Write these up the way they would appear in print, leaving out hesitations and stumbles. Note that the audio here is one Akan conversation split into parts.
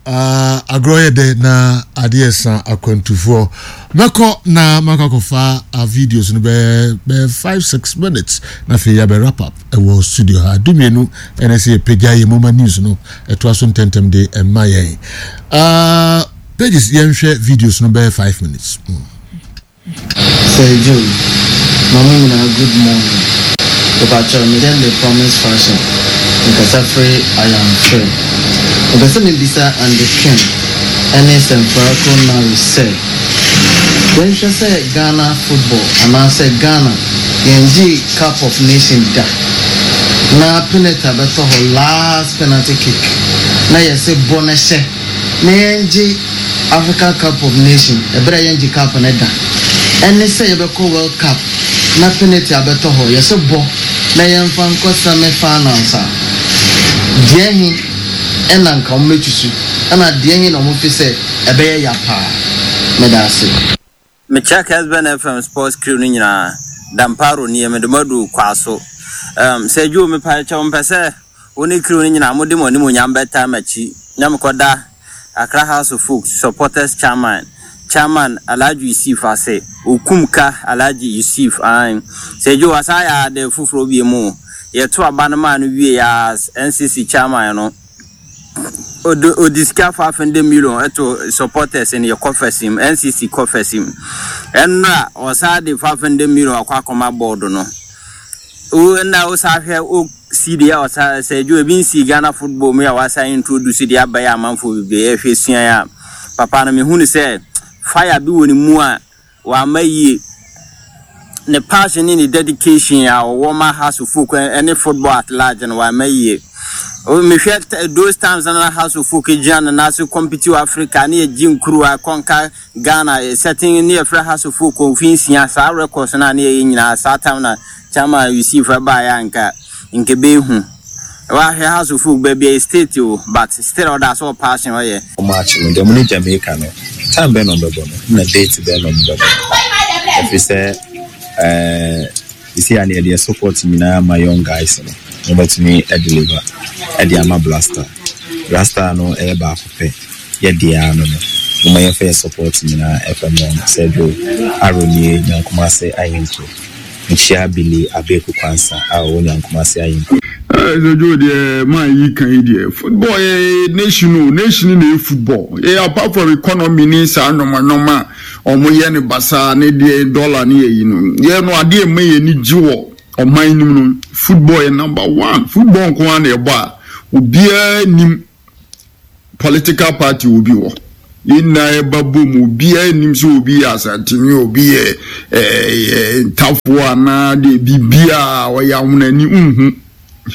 Uh, agorɔ yɛ dɛ na adeɛ sa akwantufoɔ. Mɛkɔ na makɔ akɔfa uh, videos no bɛyɛ bɛyɛ 5 6 minutes na afei yɛabɛ wrap up ɛwɔ studio ha. 12 ɛna sɛ yɛpagya yɛ moma news no ɛtoa so ntɛntɛm de ɛma yɛn. Uh, pages yɛnhwɛ videos no bɛyɛ 5 minutes. Sir Joe, ma mo nyinaa good morning. Mepakyɛw me dɛn me promise fashion mekasa firi Ayamfre. Mepɛ sɛ mebisa Andy Kim ɛne Sɛmfrako Nari sɛ, yɛnhwɛ sɛ Ghana football anaasɛ Ghana yɛngyee cup of nation da na penalty abɛtɔ hɔ last penalty kick na yɛse bɔ na hyɛ na yɛngye Africa Cup of Nation ɛberɛ a yɛngye cup no da ɛne sɛ yɛbɛkɔ World Cup na penalty abɛtɔ hɔ yɛse bɔ na yɛmfa nkɔ semi finals a deɛ he ɛna nka wɔn bɛtusu ɛna deɛ he na wɔn fe sɛ ɛbɛyɛ ya paa? Meda ase. Mekyia Kesben FM sports crew no nyinaa. Damparo nie, mede mo adu Kwaso. Um, Sir Joe, mepa kyɛw mpɛ sɛ wo ne crew no nyinaa mode mo animuonyam bɛtaa m'akyi na mekɔda Accra House of Folk supporters chairman, Chairman Alhaji Yusif ase, Okum Ka Alhaji Yusif, aane. Sir Joe, wasan ayɛ ade foforɔ bio mu. Yɛto aba no maa no wiei as NCC chairman no, Ɔde ɔde sika 500 million ɛto supporters no yɛ coffers mu, NCC coffers mu. Ɛnora ɔsan de 500 million akɔ akɔma board no. Wo nna wo san hwɛ wo si deɛ ɔsan sɛ adwo ebi nsi Ghana football mu a wasan introduce deɛ aba yɛ amanfoɔ bebree ɛhwɛ sua a papa no mehu no sɛ fire bi wɔ ne mu a Wamma yie. Ne passion ne ne dedication a ɔwɔ ma Hearts of Oak ne football at large no wamma yie. Mehwɛ those times na Hearts of Oak gyina ne nan so compete wɔ Africa ne yɛgye nkuruwa kɔnka Ghana certain ne yɛfrɛ Hearts of Oak mfe nsia saa records no a ne yɛyɛ nyinaa saa time na Chairman Yusuf baeɛ a nka nka ɛbɛyɛ hu. Wahwɛ Hearts of Oak baabi a state o but still ɔda so wɔ passion ɔyɛ. Match no deɛ ɔmo ne Jamaica no time bɛn na ɔmo bɛbɔ no na date bɛn na ɔmo bɛbɔ no ɛfiri sɛ ɛɛ sisi a no yɛde yɛ support nyinaa ma young guys no na ɔmo atumi deliver ɛde ama Blaster Blaster no ɛyɛ baako pɛ yɛ deɛ ano no mo ma yɛmfa yɛ support nyinaa ɛfɛ mo Sergio Aronie Nyankomase Ahinto. Mekyia Billy Abeku Quansah a ɔwɔ Nyankumase Ahenkuro. Eh, sɛ Joe deɛ man yi kan yi deɛ football yɛ nation o nation na yɛ football yɛ apart from economy ne saa nneɛma nneɛma a wɔn yɛ ne basaa ne deɛ dollar ne yɛ yi no yɛ no adeɛ mma yɛ ani gye wɔ ɔman no mu no football yɛ number one football nko ara na ɛbɔ a obiara nim political party obi wɔ yɛn nyinaa yɛba bom obiara nim sɛ obi yɛ asantene obi yɛ ɛɛ ntafoɔ anaa deɛ biribiara ɔyɛ ahonani nhu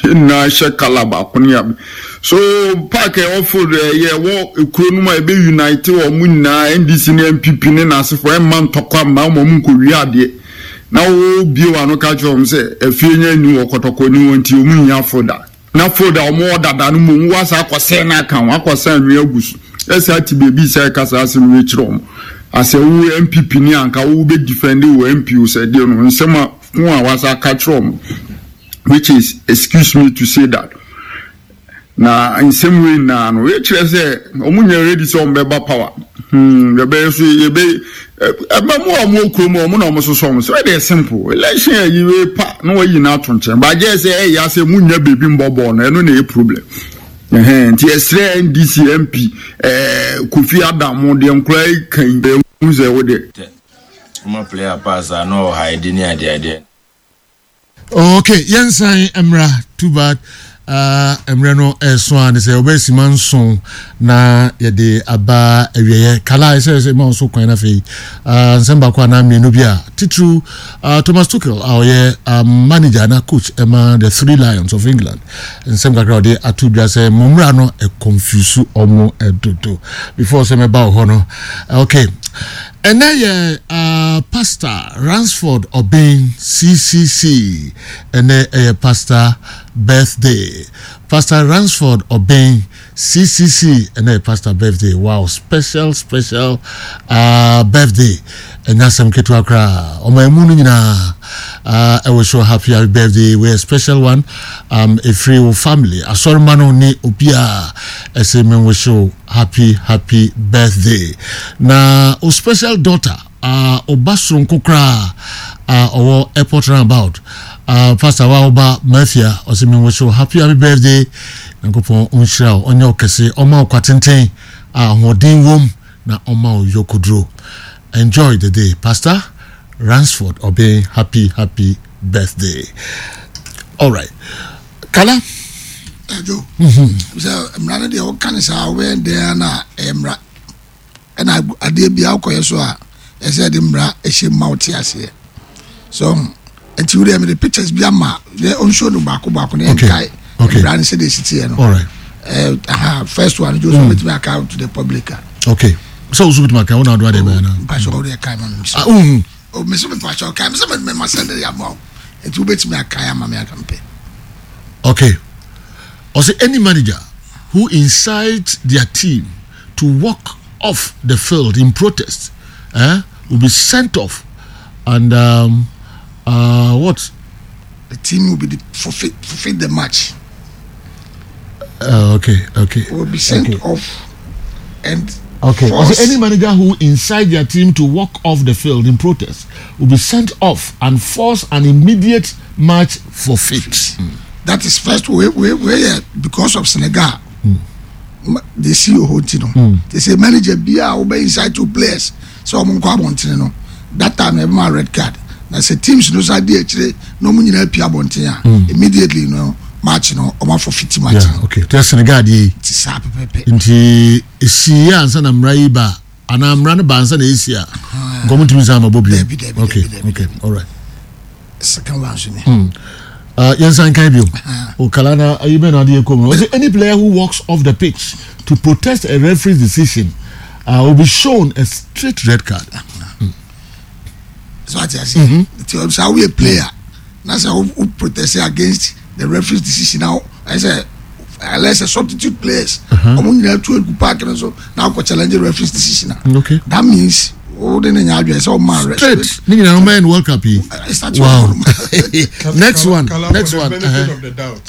yɛn nyinaa hyɛ kala baako ne abe so park ɛwɔ field ɛyɛ ɛwɔ ekuro no mu a ebe unite wɔn nyinaa ndc ne npp ne n'asefoɔ ɛmma ntɔkwa mma wɔn nkɔwie adeɛ na wɔbie wɔn ano ka kyerɛ wɔn sɛ efie nyɛ ni wɔ kɔtɔkɔ ni wɔn ti wɔn nyia folder. Na fold a wɔwɔ dada no mmom woasan akɔsɛe no aka ho, akɔsa anwea agu so. Ɛsan te baabi sɛ ɛka saa asɛm wei kyerɛ wɔn. Asɛ wo NPP ni a anka wo bɛ defend wo MP o sɛ deɛ no nsɛm a ko a wasa aka kyerɛ wɔn which is excuse me to say that na nsɛm wei nyinaa no wei kyerɛ sɛ wɔn nyɛ ready sɛ wɔn bɛba power hmm yɛbɛyɛ so yɛbɛ ɛbɛ mu a wɔn wɔ kurom wɔn na wɔn soso wɔn so ɛdeɛ simple election ɛyi wei pa na wɔayi no ato nkyɛn baagye sɛ ɛyɛ asɛ mu nya beebi mbɔ bɔɔl no ɛno na ɛyɛ problem ɛhɛn nti ɛsrɛ ndc mp ɛɛ kofi adam deɛ nkora yi kan ɛhu sɛ wo deɛ. Woma player pass a na ɔhide ne adeadeɛ. Okay, yɛnsan mmra. Too bad. Uh, mmerɛ no ɛso a ne sɛ wɔbɛyɛ sima nson na yɛde aba awieɛ kala ɛsɛ sɛ ma nso kwan no afei uh, nsɛm baako anaa mmienu bi a titiriw uh, Thomas Tuchel a ɔyɛ uh, manager na coach ɛma the Three Lions of England nsɛm kakra ɔde ato dwa sɛ mo mmra no ɛconfuse ɔmo ɛdodo before sɛ mɛba wɔ hɔ no okay Ɛnɛ yɛ ah Pastor Ransford Obeng CCC ɛnɛ ɛyɛ Pastor birthday. Pastor Ransford Obeng CCC ɛnɛ yɛ pastor birthday wow special special uh, birthday ɛnyɛ asɛm ketewa koraa ɔman mu no nyinaa uh, ɛwɔ show happy happy birthday we a special one um, ɛfiri wo family asɔrema no ne obiaa ɛsɛ menwo show happy happy birthday na o special daughter uh, ɔba soronko koraa uh, ɔwɔ airport roundabout uh, pastor wa ɔba mafia ɔsɛ menwo show happy happy birthday Nyankopɔn ɔnhyira wo, ɔnyɛ wo kɛse, ɔma wo kwatenten a ahoɔden wom na ɔma wo yɔkoduro. Enjoy the day Pastor Ransford Obeng happy happy birthday. Alright. Kala. Ɛdwo. Sɛ mmara no deɛ woka ne saa wobɛyɛ dɛn na ɛyɛ mmara. Ɛna adeɛ biara wokɔyɛ so a ɛsɛ yɛde mmara ɛhyɛ mu ma wote aseɛ so nti wodeɛ mede pictures bi ama deɛ ɔnsuo no baako baako na yɛnkae mmara no sɛdeɛ ɛsi teɛ no eh, aha first one jo so mm. wobɛtumi aka to the public a okay sɛ wo so wobɛtumi aka wo na adoa deɛ bɛyɛ no mpakyɛ wodeɛ kae ma me ah, wohu oh, me so mepakyɛ kae me sɛ mema sɛ de ama wo nti wobɛtumi akae ama me aka mpɛ okay ɔsɛ any manager who incites their team to walk off the field in protest eh, will be sent off and um, uh, what? The team will be the forfeit, forfeit the match. Uh, okay, okay. Will be sent okay. off and Okay. Force. Any manager who incites their team to walk off the field in protest will be sent off and force an immediate match forfeit. Mm. That is first way, way, way, because of Senegal. Mm. de si wɔ hɔ nti no hmm. te sɛ manager bi a wobɛ inside two players sɛ wɔn nkɔ abɔntene no that time na ɛbɛma red card na sɛ teams no sa di akyire na wɔn nyinaa pia abɔnten a hmm. immediately no match no wɔn afɔ fiti match no. okay te Senegal deɛ yi. ti saa pɛpɛpɛ. nti esi yɛ ansa na mmara yi ba anaa mmara no ba ansa na esi a nkɔmɔ ntumi nsa ama bɔ bio. okay okay all right. second one so ni. Hmm. Uh, yɛn nsan kan bio. Okala na ayi bɛ na adeɛ kɔ mu. Ɔsɛ any player who walks off the pitch to protest a referee's decision uh, will be shown a straight red card. Mm. So ati ase. Nti sɛ awoyɛ player na sɛ wo protest against the referee's decision na ɛsɛ unless a substitute players ɔmo nyinaa tu egu park no so na akɔ challenge referee's decision a. Okay. That means o de ne nya adwene sɛ ɔma rest. Straight ne nyinaa ɔma yɛ no World Cup yi. Wow. Next one. Next one. Benefit of the doubt.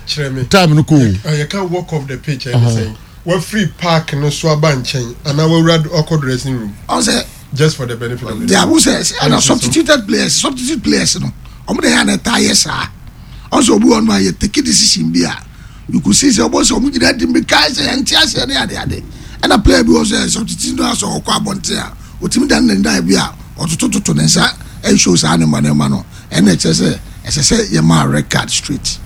Kyerɛ me. Time no ko. Yɛ ka walk off the pitch ɛne sɛn. Wafiri park no so aba nkyɛn anaa wawura ɔkɔ dressing room. Ɔsɛ. Just for the benefit of the doubt. Deɛ awo sɛ ɛna substituted players substitute players no ɔmo de yɛ ana ɛtaa yɛ saa. Ɔsɛ obi wɔ no a yɛ take decision bi a you could see sɛ ɔbɔ sɛ ɔmo gyina di mirika sɛ yɛn ti aseɛ ne ade ade ɛna player bi wɔ sɛ substitute no asɛ ɔkɔ abɔnten a otumi dan ne nan bi a ɔtotototo ne nsa ɛnhyɛ saa ne ma ne ma no ɛna ɛkyerɛ sɛ ɛsɛ sɛ yɛ maa red card straight.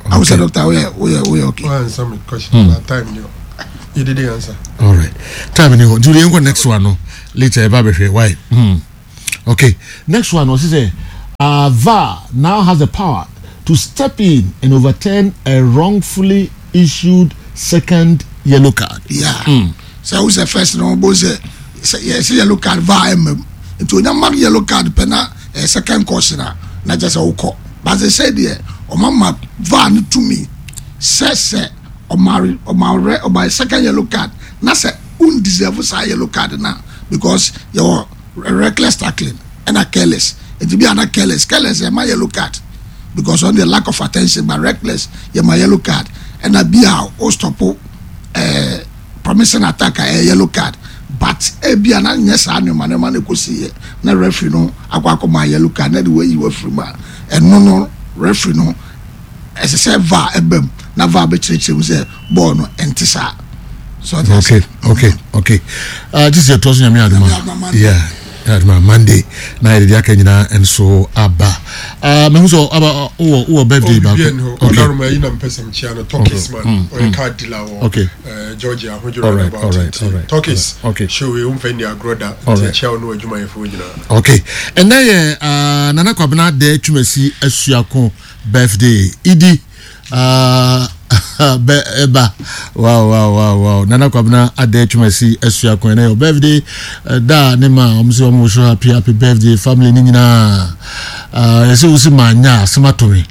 Awo sɛ doctor woyɛ woyɛ woyɛ okay. Wɔn answer me question na time ni hɔ you didn't answer. All right time ni hɔ nti yɛn kɔ next one no later ɛba bɛhwɛ why. Hmm. Okay, next one ɔsi sɛ uh, VAR now has the power to step in and overturn a wrongfully issued second yellow card. Yeah. Mm. Sɛ o sɛ first no bo sɛ sɛ yɛ sɛ yellow card VAR ɛmɛ mu nti onya mark yellow card pɛ na ɛyɛ second caution a na kyɛ sɛ wokɔ but sɛ sɛ deɛ ɔma ma VAR no tumi sɛ sɛ ɔma ɔma ɔma second yellow card na sɛ un deserve saa yellow card na because yɛwɔ reckless tackling ɛna careless nti bi a na careless careless yɛ ma yellow card because on the lack of attention but reckless yɛ ma yellow card ɛna bi a o stop ɛɛ eh, promising attack a ɛyɛ yellow card but ebi a na nyɛ saa nneɛma nneɛma na ekosi yɛ na referee no akɔ akɔ ma yellow card na de wɔayi wafiri mu a ɛno no referee no ɛsɛ sɛ VAR ɛbɛm na VAR bɛkyerɛkyerɛ mu sɛ bɔɔl no ɛnte saa. So okay okay okay uh, this is your toss nyame adoma yeah adoma Monday na yɛde de aka nyinaa nso aba uh, mehu sɛ aba wowɔ wowɔ birthday baako okay ɔdaroma yi na mpɛ sɛ mekyia no Turkish man mm, ɔyɛ mm. car dealer wɔ okay. uh, Georgia ahodwira all right, all right, all right, Turkish okay. show yi womfa nni agorɔ da nti ɛkyia wo ne w'adwumayɛfoɔ nyinaa okay ɛnɛ yɛ uh, Nana Kwabena Dɛ Twumasi Asuako birthday idi uh, Bɛ ɛba. Wow wow wow wow. Nana Kwabena Adɛ Twumasi Asua Kwan na yɛ birthday da ne ma wɔn sɛ wɔn so happy happy birthday family ne nyinaa. Uh, yɛsɛ wosi ma nya asɛm ato me.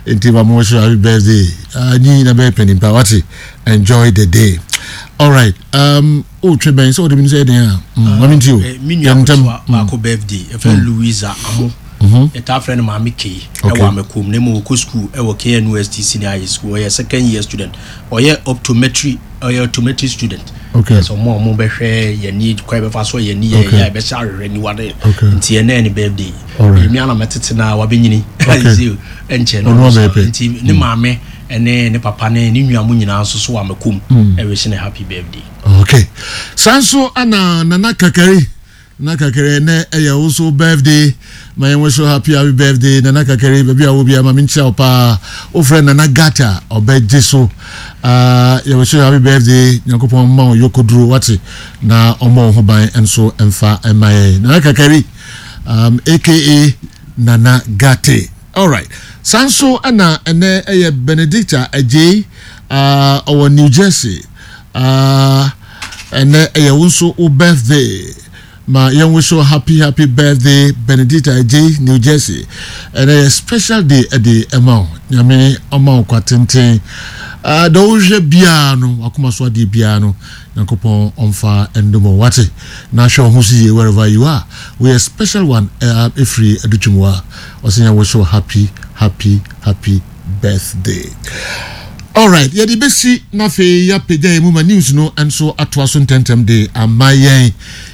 Nti ma mo so happy birthday. Uh, nyi na bɛyɛ panimpa wate. Enjoy the day. All right. Um, oh, twe bɛn sɛ wɔde mi sɛ ɛdɛn a. Mm, ma mi nti o. Eh, me nua ketewa baako birthday. Ɛfɛ Louisa Amo. Yɛtaa frɛ no Maame Kay ɛwɔ Amakom na mmom ɔkɔ sukuu ɛwɔ KNUST Senior High School. Ɔyɛ second year student. Ɔyɛ optometry ɔyɛ optometry student. Okay. Sɛ ɔmo a ɔmo bɛhwɛ yɛn ni kwan bɛfa so yɛn ni yɛ yɛ bɛhyɛ ahwehwɛ niwa de. Nti ɛnɛ ne birthday. Emi ana mɛtete na wabɛnyini. Okay. Ɛnkyɛ no. Nti ne maame ɛne ne papa ne ne nua mo nyinaa nso so wɔ Amakom ɛwɛhyɛ ne happy birthday. Okay. Saa nso ana Nana Kakari. Nana Kakari ɛnɛ ɛyɛ wo so birthday ma yɛn wish you happy happy birthday Nana Kakari baabi a wɔ biara ma menkyia wo paa wofrɛ Nana Gata ɔbɛgye so uh, yɛ wish you happy birthday Nyankopɔn ma wo yɔkɔduro wate na ɔmmɔ wo ho ban nso mfa mma yɛn Nana Kakari um, aka Nana Gate alright saa nso ɛna ɛnɛ ɛyɛ Benedicta Agyei uh, ɔwɔ New Jersey uh, Ɛnɛ ɛyɛ wo nso wo birthday. Ma yɛn wish wo happy happy birthday Benedicta Adjei New Jersey. Ɛnɛ yɛ special day ɛde ɛma wo. Nyame ɔma wo kwa tenten. Uh, deɛ wohwɛ biara no, wakoma so adeɛ biara no, Nyankopɔn ɔmfa ndom wo. Wate? Na hwɛ wo ho so yie wherever you are. Woyɛ special one ɛfiri Adutwum wa. Ɔsɛ yɛn wish wo happy happy happy birthday. Alright, yɛde bɛsi na afei yɛapagya yɛn mu ma news no nso atoa so ntɛmntɛm de ama yɛn.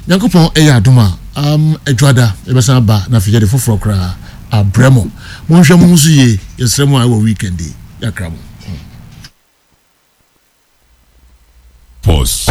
Nyankopɔn ɛyɛ adom a, um, adwada yɛbɛsan aba na afei yɛde foforɔ koraa abrɛ mo. Monhwɛ mo ho so yie, yɛsrɛ mo a ɛwɔ weekend yi, yɛakra mo. Pause.